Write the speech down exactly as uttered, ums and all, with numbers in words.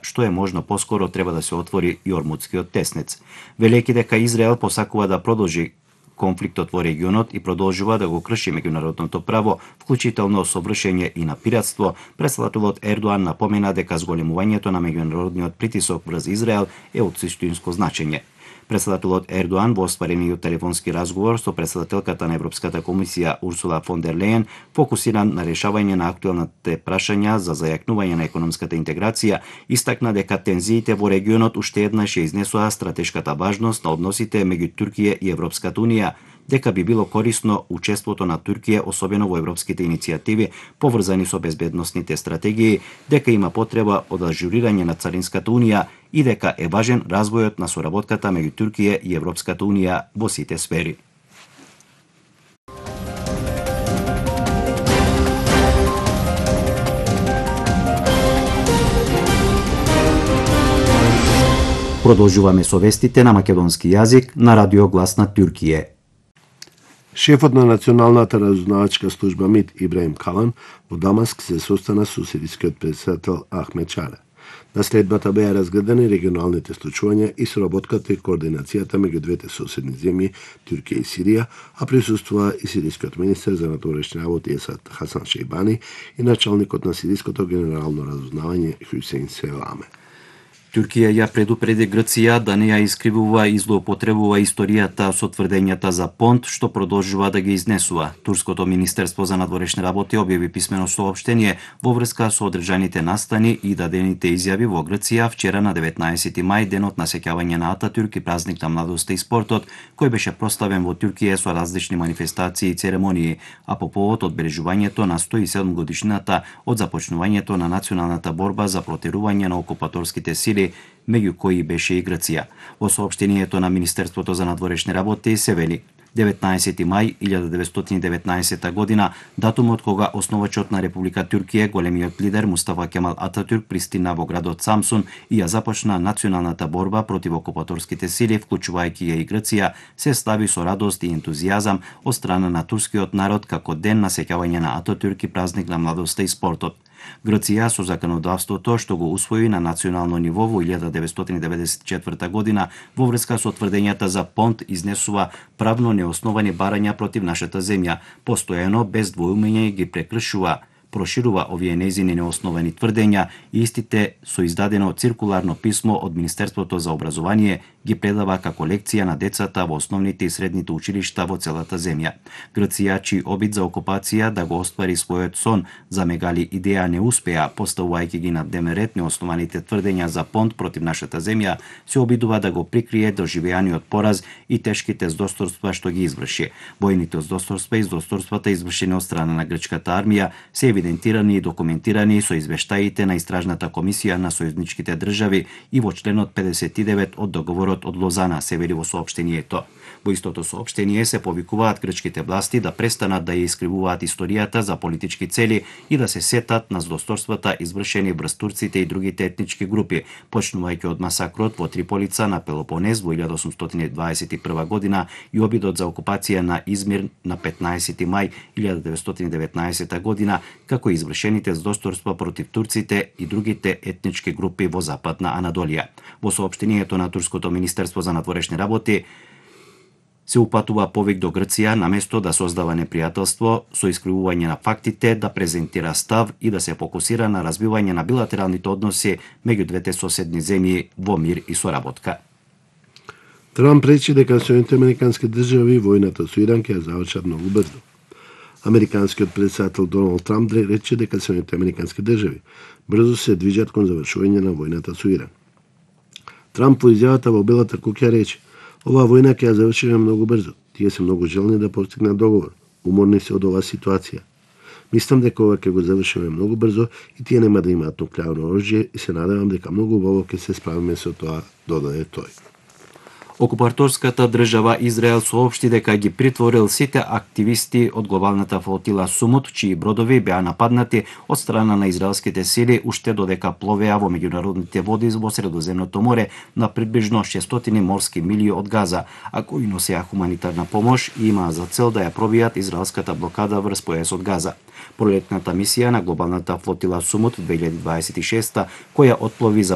што е можно поскоро треба да се отвори и Ормудскиот теснец. Велејќи дека Израел посакува да продолжи конфликтот во регионот и продолжува да го крши меѓународното право, вклучително со вршење и на пиратство, председателот Ердоан напомена дека зголемувањето на меѓународниот притисок врз Израел е од суштинско значење. Председателот Ердоан во остварениот телефонски разговор со председателката на Европската комисија Урсула фон дер Лејен фокусиран на решавање на актуелните прашања за зајакнување на економската интеграција, истакна дека тензиите во регионот уште еднаш ја изнесоа стратешката важност на односите меѓу Туркија и Европската унија, дека би било корисно учеството на Туркија, особено во европските иницијативи поврзани со безбедносните стратегии, дека има потреба од ажурирање на Царинската унија и дека е важен развојот на соработката меѓу Туркија и Европската унија во сите сфери. Продолжуваме со вестите на македонски јазик на Радио Глас на Туркија. Шефот на Националната разузнавачка служба МИД Ибраим Калан во Дамаск се состана со сирискиот претседател Ахмед Чара. На следбата беа разгледани регионалните случувања и соработката и координацијата меѓу двете соседни земји Туркија и Сирија, а присуствува и сирискиот министер за надворешни работи Есад Хасан Шейбани и началникот на сириското генерално разузнавање Хюсейн Селаме. Туркија ја предупреди Грција да не ја искривува и злоупотребува историјата со тврдењата за понт што продолжува да ги изнесува. Турското министерство за надворешни работи објави писмено соопштение во врска со одржаните настани и дадените изјави во Грција вчера на деветнаесети мај, денот на сеќавање на Ататюрк и празник на младоста и спортот, кој беше прославен во Туркија со различни манифестации и церемонии, а по повод одбележувањето на сто и седум годишнината од започнувањето на националната борба за протерување на окупаторските сили, меѓу кои беше и Грција. Во соопштението на Министерството за надворешни работи се вели: деветнаесети мај илјада деветстотини и деветнаесета година, датумот кога основачот на Република Туркија, големиот лидер Мустафа Кемал Ататюрк, пристигна во градот Самсун и ја започна националната борба против окупаторските сили, вклучувајќи ја и Грција, се слави со радост и ентузијазам од страна на турскиот народ како ден на сеќавање на Ататюрк и празник на младоста и спортот. Грција со законодавството што го усвои на национално ниво во илјада деветстотини деветдесет и четврта година во врска со тврдењата за понт изнесува правно неосновани барања против нашата земја, постојано без двоумење ги прекршува, проширува овие нејзини неосновани тврдења и истите со издадено циркуларно писмо од Министерството за образование ги предава како лекција на децата во основните и средните училишта во целата земја. Грција, чиј обид за окупација да го оствари својот сон за мегали идеја не успеа, поставувајќи ги на дневен ред неоснованите тврдења за понт против нашата земја, се обидува да го прикрие доживеаниот пораз и тешките здосторства што ги изврши. Војните здосторства и здосторствата извршени од страна на грчката армија се евидентирани и документирани со извештаите на Истражната комисија на сојузничките држави и во членот педесет и девет од договорот од Лозана, се вели во соопштението. Во истото соопштение се повикуваат грчките власти да престанат да ја искривуваат историјата за политички цели и да се сетат на здосторствата извршени врз турците и другите етнички групи, почнувајќи од масакрот во Триполица на Пелопонез во илјада осумстотини дваесет и прва година и обидот за окупација на Измир на петнаесети мај илјада деветстотини и деветнаесета година, како и извршените здосторства против турците и другите етнички групи во Западна Анадолија. Во соопштението на Турското министерство за надворешни работи се упатува повик до Грција наместо да создава непријателство со искривување на фактите, да презентира став и да се фокусира на развивање на билатералните односи меѓу двете соседни земји во мир и соработка. Трамп рече дека Соединетите американски држави војната со Иран ќе ја завршат многу брзо. Американскиот председател Доналд Трамп рече дека Соединетите американски држави брзо се движат кон завршување на војната со Иран. Трамп во изјавата во Белата куќа рече: "Оваа војна ќе ја завршиме многу брзо. Тие се многу желни да постигнат договор. Уморни се од оваа ситуација. Мислам дека ова ќе го завршиме многу брзо и тие нема да имаат нуклеарно оружје и се надевам дека многу убаво ќе се справиме со тоа", додаде тој. Окупаторската држава Израел соопшти дека ги притворил сите активисти од глобалната флотила Сумут, чии бродови беа нападнати од страна на израелските сили уште додека пловеа во меѓународните води во Средоземното море на приближно шестстотини морски милји од Газа, а кои носеа хуманитарна помош и имаа за цел да ја пробијат израелската блокада врз појасот Газа. Пролетната мисија на глобалната флотила Сумут две илјади дваесет и шеста, која отплови за